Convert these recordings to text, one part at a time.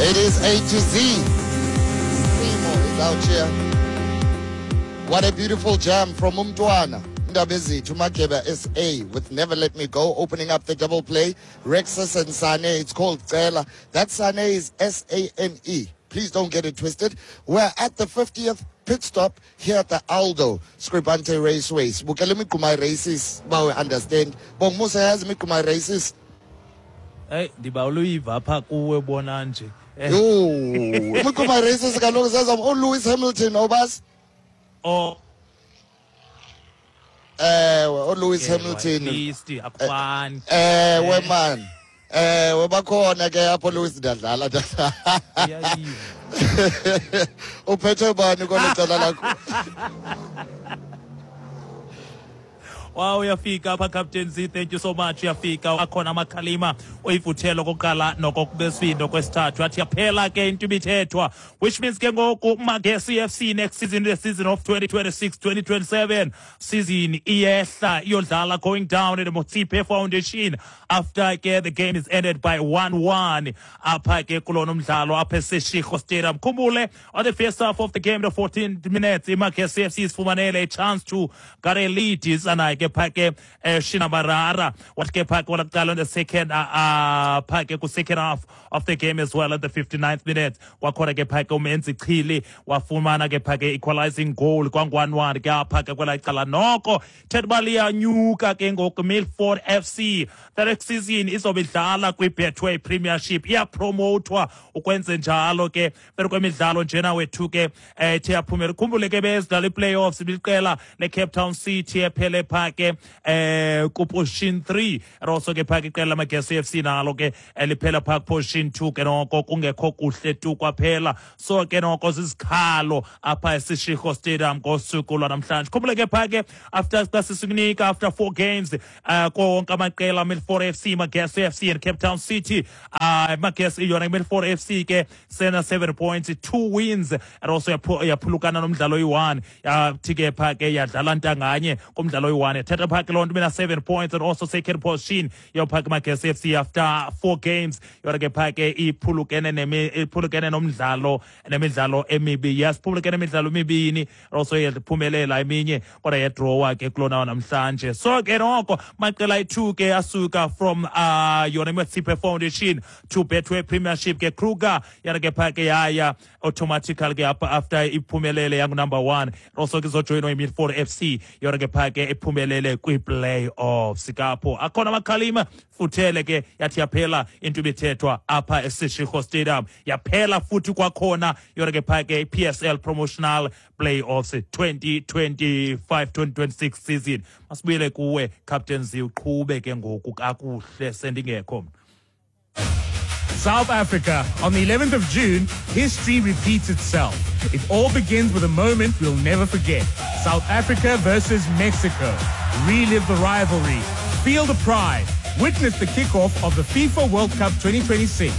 It is A to Z. Simo is out here. What a beautiful jam from Umtwana. Ndabezithu Mageba SA with Never Let Me Go opening up the double play. Rexus and Sane, it's called Cela. That Sane is S A N E. Please don't get it twisted. We're at the 50th pit stop here at the Aldo Scribante Raceway. Sibukele imigquma races, bawe understand. Bongmusa yazi imigquma races. Hey, ndibawela uyiva apha kuwe bona nje. Eh. Yho, imigquma races kaloku zezam ooLewis Hamilton obazi. Oh. Ewe, ooLewis Hamilton. At akufani. Ewe man. Ewe bakhona ke apho Lewis ndiyadlala. Uphethe bani kwelo cala lakho? Wow, uyafika apha Captain Z, thank you so much. Uyafika akhona amakhalima uyivuthelo kokuqala nokokubesindo kwesithathu. Athi yaphela ke into ibithethwa, which means ke ngoku Magesi FC next season, the season of 2026-2027 season iyehla iyodlala going down at the Motsepe Foundation after ke the game is ended by 1-1 apha ke kulona umdlalo apha eSeshego Stadium. Khumbule on the first half of the game, the 14 minutes, iMagesi FC isifumanele a chance to get a lead isanaye ke pha ke Shinabarara wathi ke pha ke walakuqala on the second pha ke ku-second half of the game as well at the 59th minute kwakhona ke pha ke uMenzi Chili wafumana ke pha ke equalizing goal kwangu-1-1 ke apha ke kwelaa cala. Noko thetha uba liyanyuka ke ngoku Milford FC the next season izobe idlala kwi-Betway Premiership, iyapromotwa ukwenze njalo ke phezu kwemidlalo njena wethu ke ethe yaphumela. Khumbule ke bezidlala i-playoffs ibiqela le-Cape Town City ephele pha ke kuposition 3 and also ke pha ke iqela laMagesi FC nalo ke liphela pha kuposition 2 ke noko kungekho kuhle tu kwaphela. So ke noko zizikhalo apha eSeshego Stadium ngosuku lwanamhlanje. Khumbule ke pha ke after xa sisikunika after 4 games konke amaqela Milford FC, Magesi FC and Cape Town City. Magesi yona Milford FC ke sena 7 points, 2 wins and also yaphulukana nomdlalo oyi-1. Yathi ke pha ke yadlala ntanganye kumdlalo oyi-1. Yathatha pha ke loo nto ibina 7 points and also second position yopha ke Magesi FC after 4 games. Yona ke pha ke iphulukene iphulukene nomdlalo nemidlalo emibi. Yes, phulukene nemidlalo emibini also yaphumelela eminye kodwa yadrawa ke kulona namhlanje. So ke noko maqela ayi-2 ke asuka from yona Motsepe Foundation to Betway Premiership ke Kruger yana ke pha ke yaya automatically ke after iphumelele yangu number 1 also ke izojoyinwa iMilford FC yona ke pha ke iphumelele kwi-playoffs kapho. Akhona amakhalima futhele ke yathi yaphela into ibithethwa apha eSeshego Stadium, yaphela futhi kwakhona yona ke pha ke PSL Promotional Playoffs 2025-2026 season. Masibuyele kuwe Captain Z uqhube ke ngoku kakuhle sendingekho. South Africa, on the 11th of June, history repeats itself. It all begins with a moment we'll never forget. South Africa versus Mexico. Relive the rivalry. Feel the pride. Witness the kickoff of the FIFA World Cup 2026.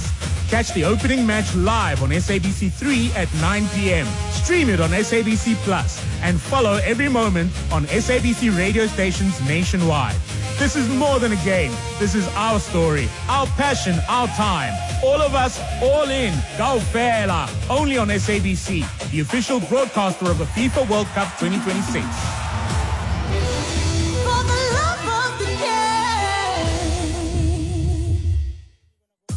Catch the opening match live on SABC3 at 9 p.m. Stream it on SABC Plus and follow every moment on SABC radio stations nationwide. This is more than a game. This is our story, our passion, our time. All of us, all in. Kaofela. Only on SABC, the official broadcaster of the FIFA World Cup 2026. For the love of the game.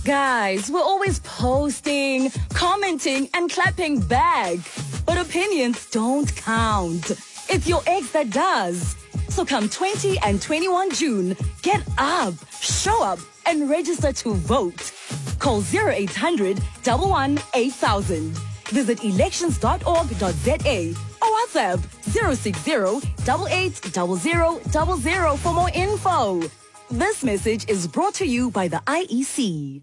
Guys, we're always posting, commenting, and clapping back. But opinions don't count. It's your ex that does. So come 20 and 21 June, get up, show up, and register to vote. Call 0800 11 8000. Visit elections.org.za or WhatsApp 060 8800 00 for more info. This message is brought to you by the IEC.